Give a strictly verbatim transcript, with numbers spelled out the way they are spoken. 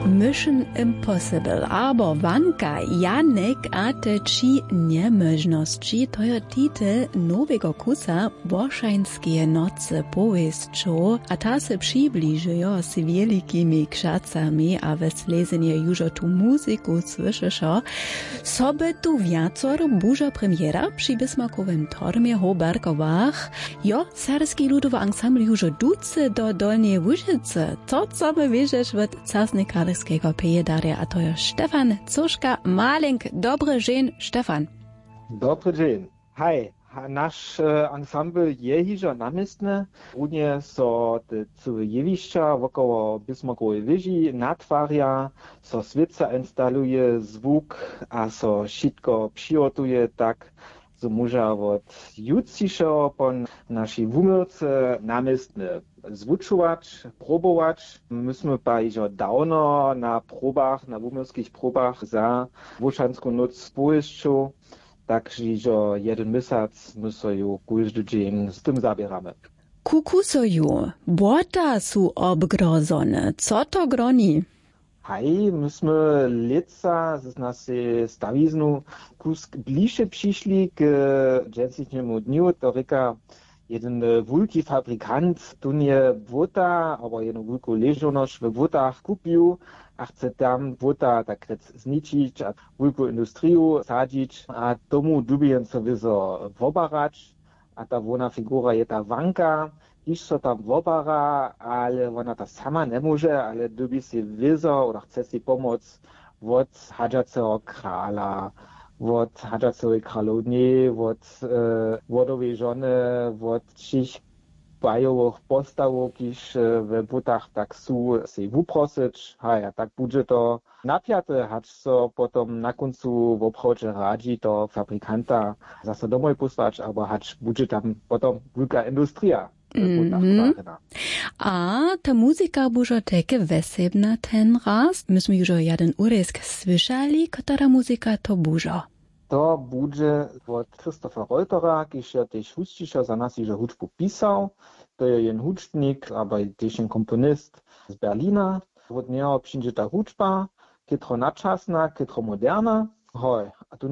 Mission Impossible abo Wanka, Janek a te tři njemóžnosći, to jo titel nowego kusa Wošańskeje nocy powěsćow, a ta se přibližujo z wjelikimi křacami a we slezenje južo tu muziku słyšeše. So by tu wjacore bužo premjera při Bismarckowym tormje w Berkowach? Jo, serbski ludowy ansambl južo ducy do Dolnjeje Łužycy. To chcemy wěsćeć wot caznej karlskeho pejdarja, a to jo Stefan Coška Malenk. Dobry dźeń, Stefan. Dobry dźeń. Haj, naš ansambl je hižo namjestny. Runje so te cyłe jewišća wokoło Bismarckowej wěži natwarja, so swěca instaluje, zwuk, a so wšitko přihotuje tak, zo móža wot jutřišeho po našej wuměłce namjestny zwučować, probować. My smy pa hižo dawno na probach, na wuměłskich probach za Wošansku nóc powěsćow, tak hižo jedyn měsac my so ju kóždy dźeń z tym zaběramy. Kukusoju, błota su obgrozone, co to groni? Haj, my smy lětsa z nasej stawiznu kusk bliže přišli k dźensnišnjemu dnju, to rěka jedyn wulki fabrikant, tón je błota abo jednu wulku ležownosć we błotach kupił a chce tam błota tak rjec zničić a wulku industriju sadźić a tomu dyrbjence wězo wobarać. A ta hłowna figura je ta Wanka, kiž so tam wobara, ale wona to sama njemóže, ale dyrbi sej wězo oder chce sej pomoc wot hadźaceho krala, wot hadźaceho kralownje, wot wodowej žony, wot wšěch bajowych postawow, kiž we błotach tak su, sej wuprosyć. Haj, a tak budźe to napjate, hač so potom na kóncu woprawdźe radźi to fabrikanta zaso domoj pósłać, abo hač budźe tam potom wulka industrija w błotach twarjena. A ta muzika bužo tajke wjesebna ten raz. My smy južo jedyn urězk słyšali, kotara muzika to bužo? To budźe wot Christopha Reutera, kiž jo tež husćišo za nas hižo hudźbu pisał. To je jen hudźbnik abo tež jen komponist z Berlina. Wot njeho přińdźe ta hudźba, chětro načasna, chětro moderna. Hoj,